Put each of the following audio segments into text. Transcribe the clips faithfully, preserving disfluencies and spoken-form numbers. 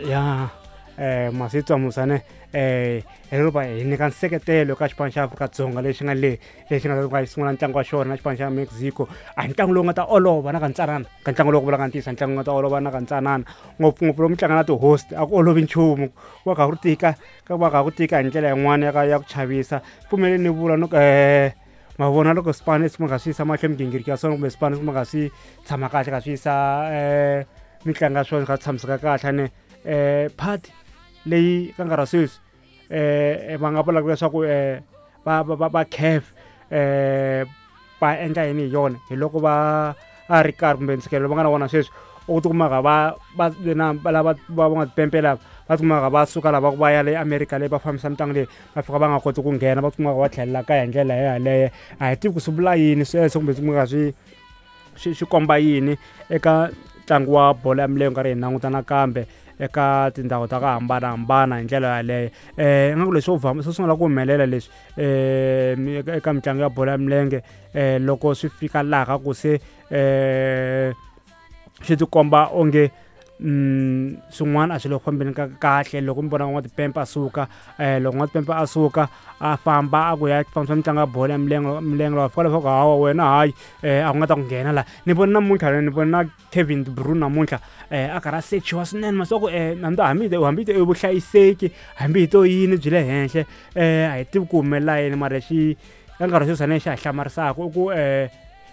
Ya um Masitwa Musane um hi lero va hi nyika nseketelo ka xipano xa Afrika-Dzonga lexi nga le lexi nga ta xi sungula ntlangu wa xona na xipano xa Mexico. A hi ntlangu lowu nga ta olova na ka ntsanana ka ntlangu lowu ku vulaka ntiyiso ntlangu nga ta olova na ka ntsanana ngopfungopfu lomu tlanga na ti-host a ku olovi nchumu ku va kha ku tika ka va kha ku tika hi ndlela yin'wana ya ka ya ku chavisa. Pfumeleni ni vula no um ma vona loko swipano leswi nga swi yisa mahlweni migingiriko ya swona kumbe swipano leswi nga swi tshama kahle ka swi yisa um mitlangu ya swona swi nga tshamiseka kahle ne um party leyi ka nkarhi wa sweswi um va nga vulaka leswaku um va va va va C A F um va endla yini hi yona hi loko va a ri karhi kumbe ntshikelelo va nga na wona sweswi u tikumaka va va na lava va va nga tipempe lava va tikumaka va suka lava va ya le America leyi va fambisa mitlangu leyi va fika va nga koti ku nghena va tikumaka va tlhelela kaya hi ndlela yaleyo. A hi tivi ku swi vula yini sweswo kumbe swi kumeka swi swi swi komba yini eka ntlangu wa bolo ya milenge karhi hi languta nakambe eka tindhawu ta ku hambanahambana hi ndlela yaleyo. um ingaku leswi swo swo sungula ku humelela leswi um eka mitlangu ya bolo ya milenge um loko swi fika laha ka ku se um swi tikomba onge mm swin'wana a swi le ku fambeni ka kahle. Loko mi vona n'watipempe a suka um loko n'watipempe a suka a famba a ku ya fambisa mitlangu ya bolo ya milenge milenge loko a fika leswaku hawa wena hayi um a ku nga ta ku nghena laha ni vona namuntlha ni vona Kevin De Bruyne namuntlha um a karhi a sechiwa swinene masiku um hambi hambi hambi i vuhlayiseki hambi hi to yini byi le henhla um a hi tivi ku humelela yini mara xi ka nkarhi wa sweswi xa ha hlamarisaka i ku um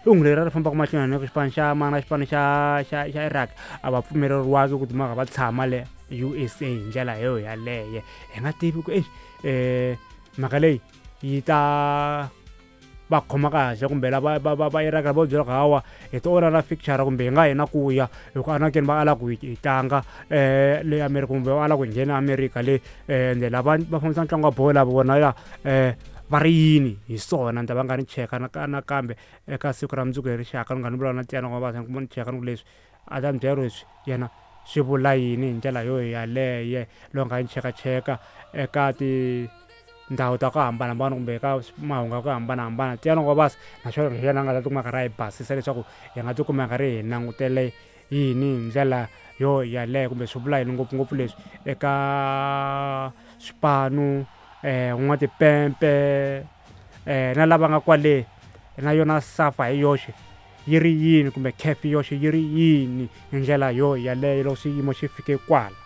hungu leri ri fambaka mahlweni na xipano xa mana xipano xa xa xa Iraq a va pfumeleriwangi ku timhaka va tshama le U S A hi ndlela yo yaleyo. Hi nga tivi ku exi um mhaka leyi yi ta va khoma kahle kumbe lava va va va Iraq vo byela ku hawa hi to onha na fixture kumbe hi nga hina ku ya hi ku anakeni va ala ku hi tlanga um le America kumbe va ala ku hi nghena America le ende lava va fambisa ntlangu wa bolo lava vona ya um va ri yini hi swona ni ta va nga ni cheka nakambe eka siku ra mundzuku hi rixaka ni nga ni vulavula na Tiyani va ni cheka ni ku leswi a ta ni byela leswi yena swi vula yini hi ndlela yo yaleyo loko nga ni chekacheka eka tindhawu ta ku hambanahambana kumbe eka mahungu ya ku hambanahambana. Tiyani wa basa naswona hi yena a nga ta tikuma a karhi a hi basisa leswaku hi nga tikuma hi karhi hi langutele yini hi ndlela yo yaleyo kumbe swi vula yini ngopfungopfu leswi eka swipanu um n'watipempe um na lava nga kwale na yona SAFA hi yoxe yi ri yini kumbe C A F yoxe yi ri yini hi ndlela yo yaleyo loko xiyimo xi fike kwala.